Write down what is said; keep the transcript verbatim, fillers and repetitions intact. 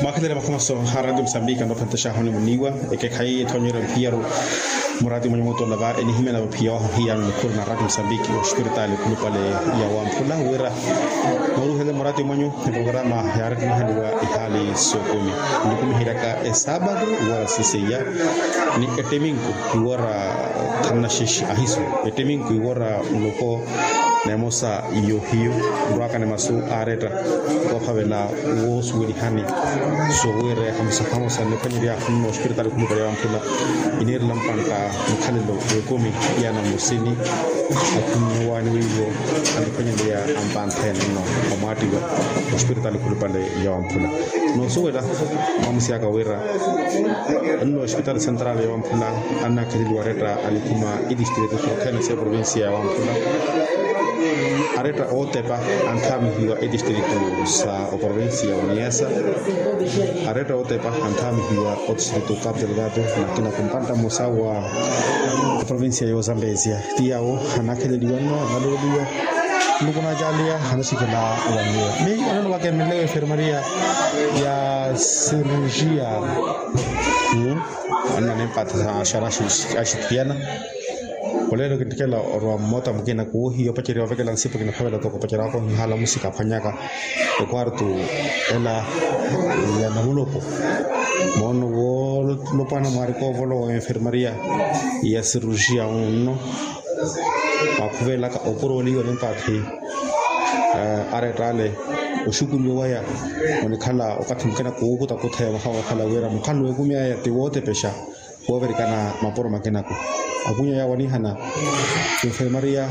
Mwakhelele makhomaso a ratio musambiki anophantaxaho ni muniiwa. Ekekhayi ethoonyerya mphiyaru murati mwenye mutola va enihimya na vaphiya waho hiyano nikhuri na ratio musambiki ospiritaali khulupale ya wamphula wira nooruhele murati mwenyu. Eprograma yaarettenihaliwa ihaali sookumi nikumiheryaka esaabatu iwora siseiya ni etteminku iwora thanu na xexe ahisu etteminku iwora muloko na emosa yohiyu nrwaka ni masu aaretta. Woophavela woosuwelihani sowiire hamosa hamosa nniphwanyerya nno ospiritaali khulupale ya wamphula iniirela mpantta mukhalelo w'ekumi. Iyana mmosini akhunnye waani wiivo aniphwanyerya ampantthe nno omwaattiwa ospiritaali khulupale ya wamphula. Noosuwela mwamusi aka wira nno ospitali sentrali ya wamphula annakheleliwa aretta alikhuma itistritu sothene sa eprovinsiya ya wamphula. Aretta ootepa anthaamihiwa etistritu sa oprovinsiya ya oniasa. Aretta ootepa anthaamihiwa otistritu capu delgado nakina kumpantta mmosa wa eprovinsiya ya ozambesia. Ti yawo anakheleliwa nno analooliwa nluku nacaaliya anaxikhela owanyiwa mi onano vakemelewa enfermaria ya cirurgia. Anna nimpatha xana axithiyana. Olelo kintthikela orwa mmota mukina kuuhiya opaceriwa ovekela nsipu kinaphavela toko opaceriwaka ohihala musika aphwanyaka ekwartu ela ya namuloko. Moono wolopwana mwaarika ovolowa enfermaria ya cirurgia unno. Mwakhuvelaka opuroliwa nimpathi aretta ale oxukuliwa waya onikhala okathi mukina kuukuta kutheya mahawa okhala wira mukhalano w'ekumi aya ti wootepexa woovirikana mapuro makinaku. Akunya yawo anihana enfermaria